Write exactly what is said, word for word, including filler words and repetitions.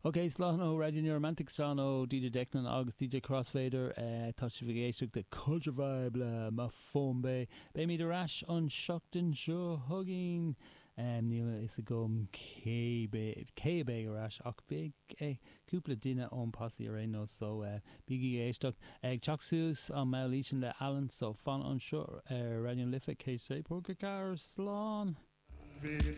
Ok, slán ó Radio New Romantic slán ó DJ Declan agus DJ Crossfader uh, tá sibh ag éisteacht le Culture Vibe le Mafombe. Beimid ar ais an seachtain seo chugainn. Um, níl a fhios agam cé cé ar ais ach beidh eh, cúpla duine ón posse ar aon nós so uh, bígí ag éisteacht ag teacht suas an mailísin le Alan so fan anseo ar Raidió Life céad sé ponc ceathair slán.